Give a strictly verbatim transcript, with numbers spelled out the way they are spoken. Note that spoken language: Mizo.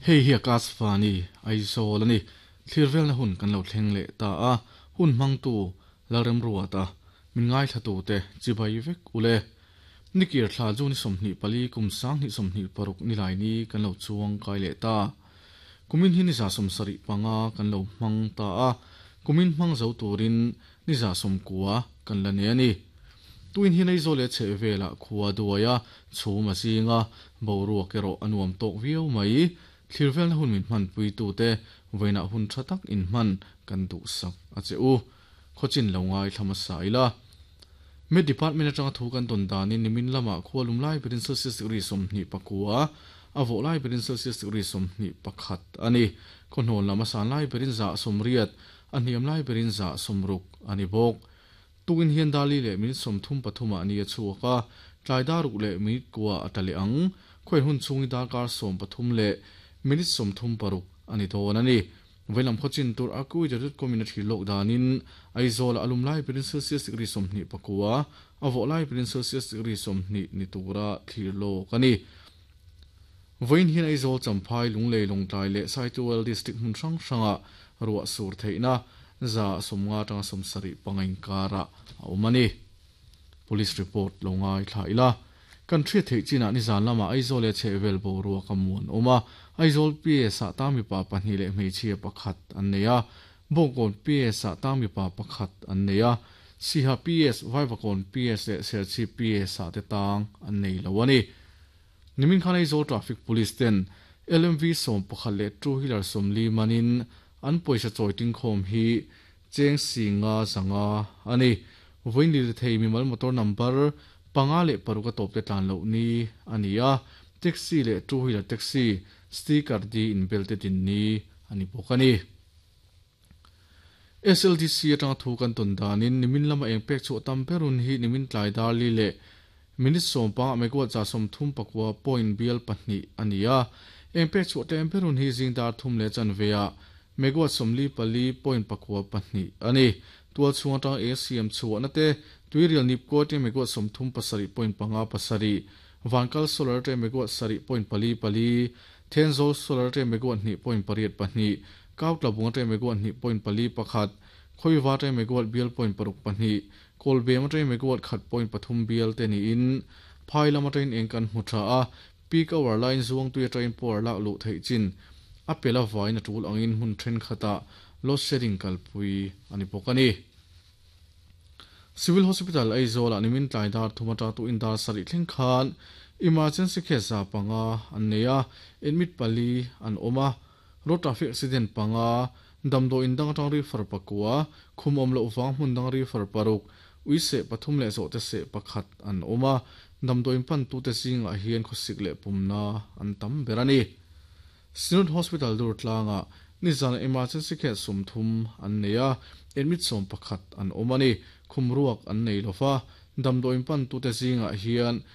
Hei hi Akashvani Aizawl ani. Thlir velna hun kan lo thleng leh ta a, hun hmangtu Lalremruata min ngaithla tu te chibai vek ule. Nikir thla chu ni sawmhnih pali kum sanghnih sawmhnih paruk nilai ni kan lo chuang kai leh ta. Kumin hi ni za sawmsarih panga kan lo hmang ta a, kumin hmang zo turin ni za sawmkua kan la nei ani. Tuin hi Aizawl leh chhehvelah khua duaia chhum a zinga boruak erawh a nuam tawk viau mai. Thlir velna hun min hman pui tu te vawiinah hun tha tak in hman kan duhsak a che u. Khawchin lo ngai thlama saila. Met Department atanga thu kan tawn danin nimin lamah khua lum lai berin Celsius degree sawmhnih pakua a vawh lai berin Celsius degree sawmhnih pakhat ani. Khawhnawn lam a san lai berin za sawmriat a hniam lai berin za sawmruk ani bawk. Tukin hian dali leh minute sawmthum pathum ah ni a chhuak a, tlai daruk leh minute kua a tla leh ang. Khawi hun chhungi darkar sawm pathum leh minute sawmthum paruk ani dawn ani. Veilam khawchin tur Akuweather dot com in a thlir lawk danin Aizawl a lum lai berin Celsius degree sawmhnih pakua a vawh lai berin Celsius degree sawmhnih ni tura thlir lawk ani. Vawiin hian Aizawl Champhai Lunglei Lawngtlai leh Saitual district hmun hrang hrangah ruah sur theihna za sawmnga atanga sawmsarih panga inkarah a awm ani. Police report lo ngai thla ila. Kan hriat theih chinah nizan lamah Aizawl leh chhehvel boruak a muan awm a, Aizawl P S ah tang mipa pahnih leh hmeichhia pakhat an nei a, Bawngkawn P S ah tang mipa pakhat an nei a, Siha P S, Vaivakawn P S leh Serchhip P S ah te tang an nei lo a ni. Nimin khan Aizawl Traffic Police ten L M V sawm pakhat leh two wheeler sawmli manin an pawisa chawi tingkhawm hi cheng si nga zanga a ni. Vawiin lirthei mimal motor number panga leh paruk a tawp te tlan loh ni a ni a, taxi leh two wheeler taxi sticker di inbel te din ni a ni bawk a ni. S L D C atanga thu kan tawn danin nimin lama eng pek chhuah tam berun hi nimin tlai darli leh minute sawm panga megawatt za sawmthum pakua point bial pahnih a ni a, eng pek chhuah tlem berun hi zing dar thum leh chanveah megawatt sawmli pali point pakua pahnih a ni. Tual chhung atanga eng siam chhuahna te tuirial nipko te megawatt sawmthum pasarih point panga pasarih, Vankal solar te megawatt sarih point pali pali, Thenzawl solar te megawatt hnih point pariat pahnih, Kautlabunga te megawatt hnih point pali pakhat, Khawiva te megawatt bial point paruk pahnih, Kawlbem te megawatt khat point pathum bial te niin phai lam atangin eng kan hmu tha a, peak hour line zuang tui atangin power lak luh theih chin a pela vain a tul angin hmun thenkhatah load shedding kalpui ani bawk a ni. Civil Hospital Aizawl ah nimin tlai dar thum atang tu in dar sarih thleng khan emergency case za panga an nei a, admit pali an awm a, road traffic accident panga, damdaw in dang atang refer pakua, khum awm loh vang hmun dang refer paruk, ui seh pathum leh zawh te seh pakhat an awm a, damdaw in pan tu te zingah hian khawsik leh pumna an tam ber a ni. Synod Hospital dur tlangah nizan emergency case sawmthum an nei a, admit sawm pakhat an awm a ni. Khum ruak an nei lova, damdaw in pan tu te zingah hian